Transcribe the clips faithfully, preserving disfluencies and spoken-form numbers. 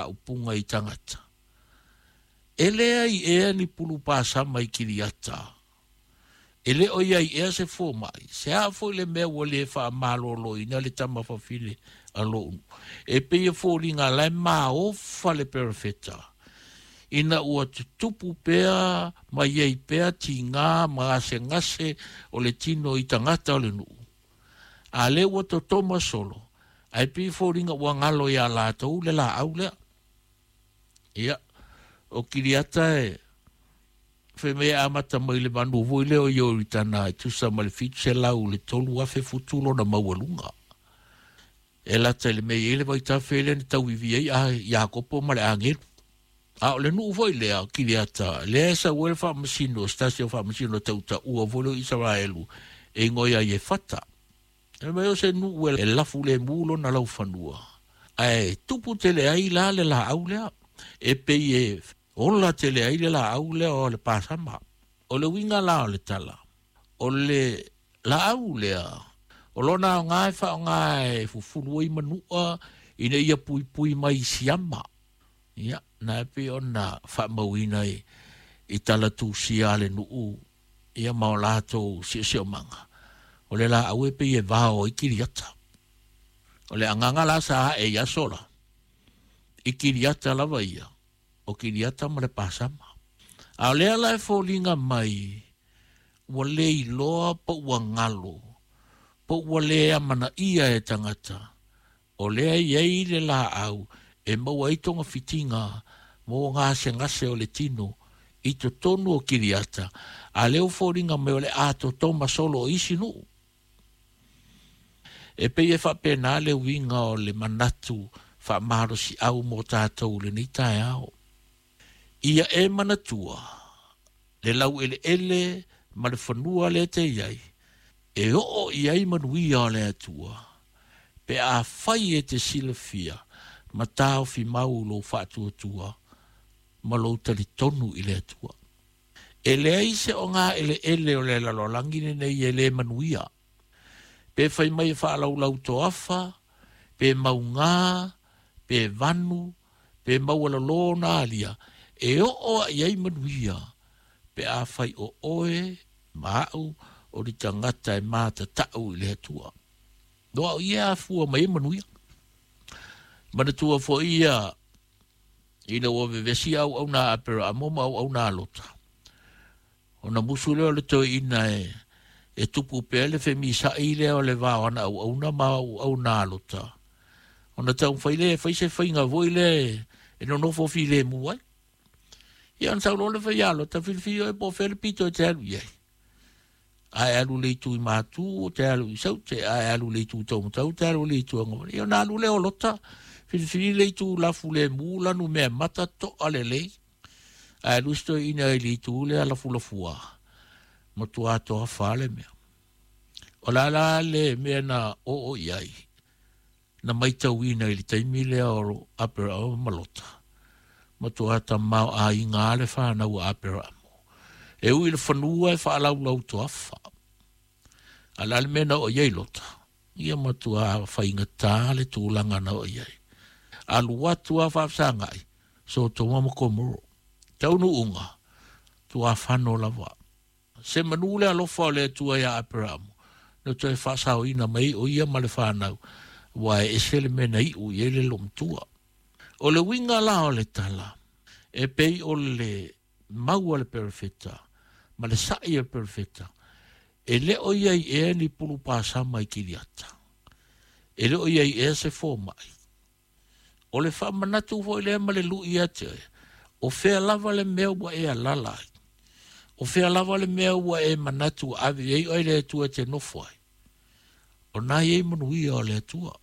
faaupuga i tagata. E leai ea ni pulu pasama i Kiriata. E le o iai ea se fomai. Se a foi le mea ua le faamaloloina le tamafafine a lo'u nuu. E pei e foliga la e maofa le perofeta. Ina ua tutupu pea ma iai pea tigā ma gasegase o le tino i tagata o le nuu. A lea ua totoma solo, ae pei e foliga ua galo iā latou le laau lea. Ia, o Kiriata e fai mai e amata mai le manu foi lea o Ioritana e tusa ma le fitu selau le tolu afe futu lona maualuga. E lata i le mea e i ai le vaitafe lea na tauivi ai a Iakopo ma le agelu. A o le nuu foi lea o Kiriata, lea e sau ai le faamasino, se tasi o faamasino tautaua foi lea o Isaraelu e igoa ia Iefata. Fai mai o se nuu e lafu lemu lona laufanua, ae tupu tele ai la le laau lea, e pei e ola tele ai le laau lea o le pasama. O le uiga la o le tala, o le laau lea, o lona aoga e faaaoga e fufulu ai manua ina ia puipui mai i siama. Ia, na e pei ona faamauina i, i tala tusia a le nuu, ia ma o latou siosiomaga. O le laau e pei e vao ai Kiriata. O le agaga la sa ae i aso la, i Kiriata lava ia, o Kiriata ma le pasama. A o lea la e foliga mai, ua le iloa po ua galo, po ua le amanaia e tagata, o lea e i ai le laau e maua ai togafitiga mo gasegase o le tino i totonu o Kiriata, a lea ua foliga mai o le atoatoma solo o isi nuu. E pei e faapena le uiga o le manatu faamalosiau mo tatou i lenei taeao. Ia e manatua le laueleele ma le fanua lea e te i ai, e oo i ai manuia o le Atua, pe afai e te silafia ma taofi mau lou faatuatua ma lou talitonu i le Atua. E leai se ogaeleele o le lalolagi lenei e le manuia. Pe fai mai e faalaulau toafa, pe maugā, pe vanu, pe maualalo ona alia, e oo i ai manuia, pe afai o oe ma au o le tagata e matatau i le Atua. No au ia afua mai e manuia. Manatua foi ia ina ua vevesi auauna a Aperaamo ma auauna a Lota. Ona musu lea o le toeaina e, e tupu pea le femisa'i lea o le va o ana auauna ma auauna a Lota. Ona taumafai lea e fai se faiga foi lea e nonofo filemu ai. Ia ona sau loa le fai a Lota, filifili oe po o fea le pito e te alu i ai. A e alu i le itu i Matu, o te alu i Saute, a e alu i le itu Taumatau, te alu i le itu Agavale. Ia ona alu lea o Lota, filifili le itu lafulemu, lanu mea mata, to'a lelei. Ae alu si toeaina i le itu lea lafulafua, matua toafa le mea. O le a la le mea na oo i ai, na maitauina i le taimi lea o Aperaamo ma Lota, matua tamaoaiga le fanau a Aperaamo. E ui i le fanua e faalaulau toafa. A o le a le mea na oo i ai Lota? Ia matua faigata le tulaga na oo i ai. Alu atu a faafesagai, Sotoma ma Komoro. Taunuuga, tuafano lava. Se manu le alofa o le Atua iā Aperaamo, na toe faasaoina mai o ia ma le fanau, aua e ese le mea na iu i ai le loomatua. O le uiga la o le tala, e pei o le mau a le perofeta ma le sa'i a le perofeta, e le o i ai ea ni pulu pasama i Kiriata. E le o i ai ea se fomai. O le faamanatu foi lea ma le lu'i ia te oe, o fea lava le mea ua e alaala ai, o fea lava le mea ua e manatu ua ave i ai oe le Atua e te nofo ai, o na i ai manuia o le Atua.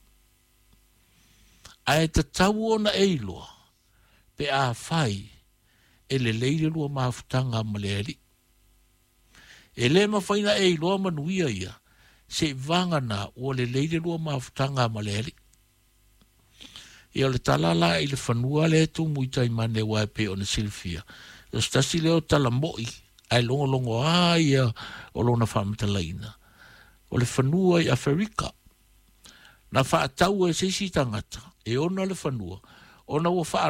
Ae tatau ona e iloa, pe afai e lelei le lua mafutaga ma le Alii. E le mafai ona e iloa manuia ia, seiavagana ua lelei le lua mafutaga ma le Alii. Ia o le tala la i le fanua lea e tumu i Taimane aua e pei ona silafia, o se tasi lea o tala mo'i ae logologoa ia o lona faamatalaina, o le fanua i Aferika. Na faatau e se isi tagata e ona le fanua, ona ua